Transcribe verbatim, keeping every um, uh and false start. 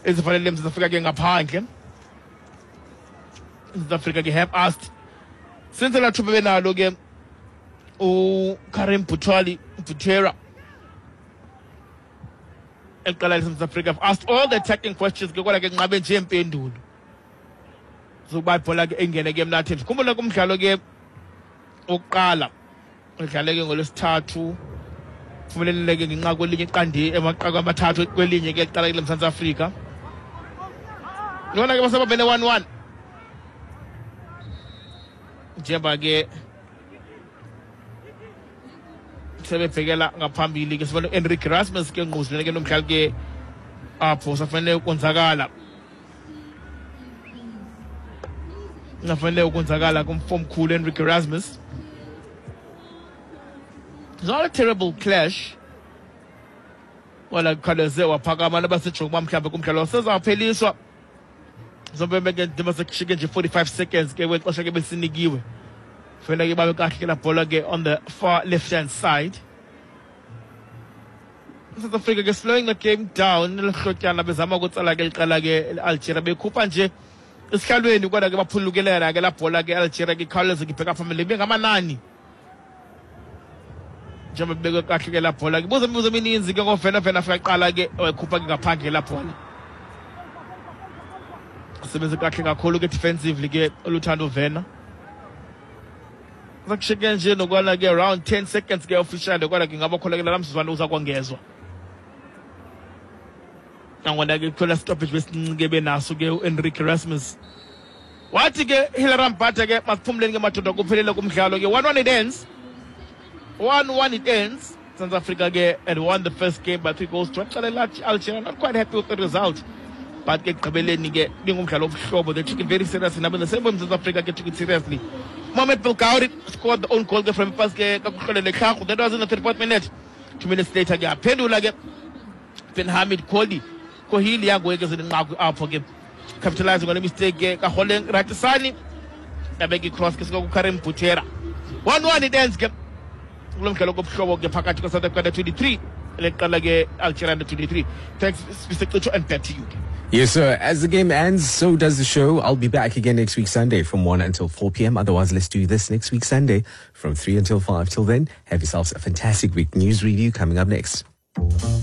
Ezifanele Mzantsi Afrika ke ngaphandle. South Africa ke have asked since la thuba benalo ke uKarim Butali Butera eqala South Africa have asked all the attacking questions ke kodwa ke nqabe nje impendulo zokuba ibhola ke ingene ke emnatheni. Khumbula kumdlalo ke oqala udlale ke ngolwesithathu phumeleleke ngenxa kwelinye iqandi emaqaqa amathathu kwelinye ke eqala ke South Africa. Yona ke basababene one one njengoba ke sebebhekela ngaphambili ke sibona Enrique Erasmus ke ngquzulene ke nomdlali ke apho safanele ukonzakala nafanele ukonzakala kumfo omkhulu Enrique Erasmus. It's not a terrible clash. Wala kukhawuleze waphakama nabasejonga uba mhlawumbe kumdlalo sezawupheliswa zobe ke ndima sekushike nje forty-five seconds ke kwexesha ke besinikiwe. Fanele ke babe kahle ke la bhola ke on the far left hand side. South Africa ke slowing the game down lehlotyana bezama ukutsala ke iqala ke Algeria bekhupha nje esihlalweni kodwa ke baphulukelela ke la bhola ke Algeria ke ikhawuleze ke ibheka phambili bengamanani. Njengoba bebekwe kahle ke la bhola ke buza imibuzo emininzi ke ngovena vena afika qala ke wayikhupha ke ngaphandle la bhola. Sebenze kahle kakhulu ke defensively ke Oluthando Vena. Zakushike nje nokwana ke around ten seconds ke official kodwa ke ngaba khona ke la mzuzwana uza kwongezwa. Nangona ke khona stoppage besincike benaso ke uEnrique Erasmus. Wathi ke Hilary Mbhatha ke masiphumleni ke madoda kuphelele kumdlalo ke one one it ends. one one it ends. South Africa ke had won the first game by three goals to one. Algeria not quite happy with the result. But ke ekugqibeleni ke bingumdlalo obuhlobo. They took it very seriously. Nabo the same way South Africa ke took it seriously. Mohamed Belgauri scored the own goal ke from pass ke kakuhlolele Tlhago. That was in the thirty-fourth minute. Two minutes later ke aphendula ke Ben Hamid Koli Kohili yangoye ke zinqaku apho ke capitalizing on a mistake ke kaHoleng Ratisani yabeka i-cross ke suka kuKarim Butera. one one it ends ke kulo mdlalo kobuhlobo ke phakathi kwa South Africa twenty-three leqala ke Algeria twenty-three. Thanks Mister Cicho and back to you. Yes, sir. As the game ends, so does the show. I'll be back again next week Sunday from one until four p.m. Otherwise, let's do this next week Sunday from three until five. Till then, have yourselves a fantastic week. News review coming up next.